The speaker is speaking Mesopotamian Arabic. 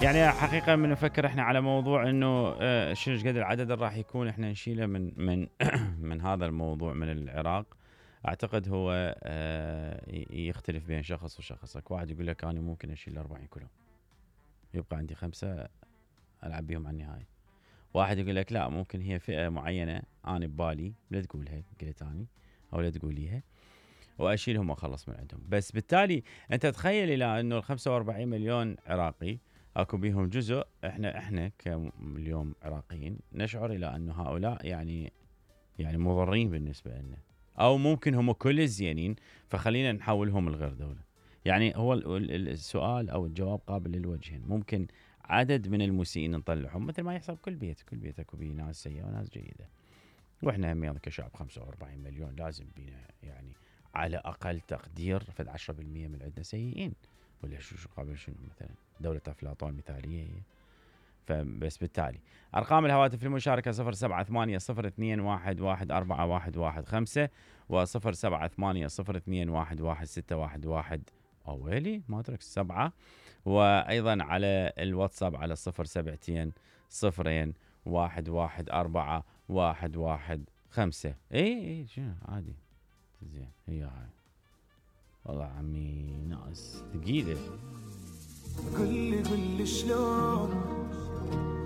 يعني حقيقة من نفكر احنا على موضوع انه شنو قد العدد اللي راح يكون احنا نشيله من من هذا الموضوع من العراق. اعتقد هو يختلف بين شخص وشخص. واحد يقول لك انا ممكن اشيل 40 كيلو يبقى عندي 5 العب بيهم على النهاية. واحد يقول لك لا، ممكن هي فئة معينة انا ببالي لا تقولها قلت اني او لا تقوليها واشيلهم واخلص من عندهم. بس بالتالي انت تخيل الى انه ال 45 مليون عراقي اكو بيهم جزء احنا كاليوم عراقيين نشعر الى انه هؤلاء يعني مضرين بالنسبه لنا، او ممكن هم كل زينين فخلينا نحولهم لغير دوله. يعني هو السؤال او الجواب قابل للوجهين. ممكن عدد من المسيئين نطلعهم مثل ما يحصل كل بيت اكو بيه ناس سيئه وناس جيده. واحنا هم كشعب 45 مليون لازم بينا يعني على اقل تقدير فد 10% من عندنا سيئين، ولا شو قابل شنو مثلا دوله افلاطون مثاليه هي. فبس بالتالي ارقام الهواتف للمشاركه 078021111415 و0780211611 اويلي ما ادرك 7. وايضا على الواتساب على 07002114115. اي شنو عادي زين هي هاي. والله عمي ناس ثقيله. قل لي شلون